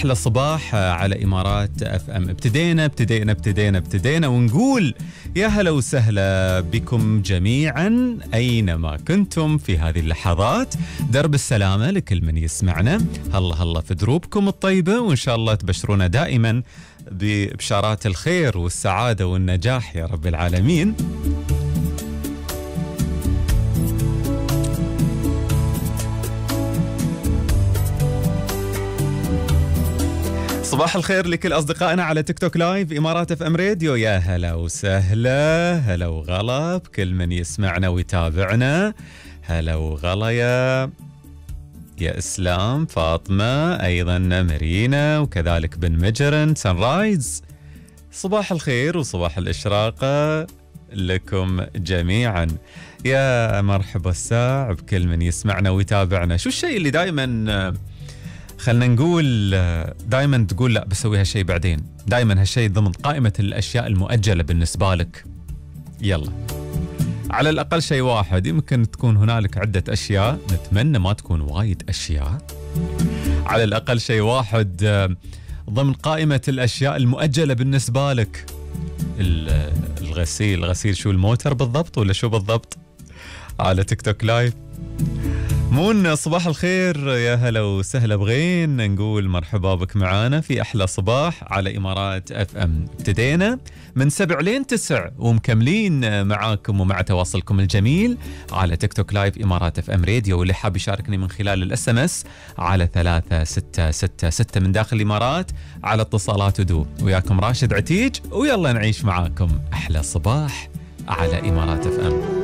أحلى صباح على إمارات اف ام. ابتدينا ونقول يا هلا وسهلا بكم جميعا أينما كنتم في هذه اللحظات. درب السلامة لكل من يسمعنا. هلا في دروبكم الطيبة، وإن شاء الله تبشرونا دائما ببشارات الخير والسعادة والنجاح يا رب العالمين. صباح الخير لكل أصدقائنا على تيك توك لايف إمارات اف ام راديو. يا هلا وسهلا، هلا وغلا بكل من يسمعنا ويتابعنا. هلا وغلا يا إسلام، فاطمة، أيضا مارينا، وكذلك بن مجرن سان رايز. صباح الخير وصباح الإشراقة لكم جميعا. يا مرحبا الساع بكل من يسمعنا ويتابعنا. شو الشيء اللي دائما خلنا نقول دائما تقول لا بسوي هالشيء بعدين، دائما هالشيء ضمن قائمة الأشياء المؤجلة بالنسبة لك؟ يلا، على الأقل شيء واحد. يمكن تكون هنالك عدة أشياء، نتمنى ما تكون وايد أشياء. على الأقل شيء واحد ضمن قائمة الأشياء المؤجلة بالنسبة لك. الغسيل شو، الموتر بالضبط ولا شو بالضبط؟ على تيك توك لايف. مون صباح الخير، يا هلا وسهلا بغين. نقول مرحبا بك معانا في أحلى صباح على إمارات اف ام. ابتدينا من 7 لين 9 ومكملين معاكم ومع تواصلكم الجميل على تيك توك لايف إمارات اف ام راديو. واللي حاب يشاركني من خلال الاس ام اس على 3666 من داخل الإمارات على اتصالات ودو. وياكم راشد عتيج، ويلا نعيش معاكم أحلى صباح على إمارات اف ام.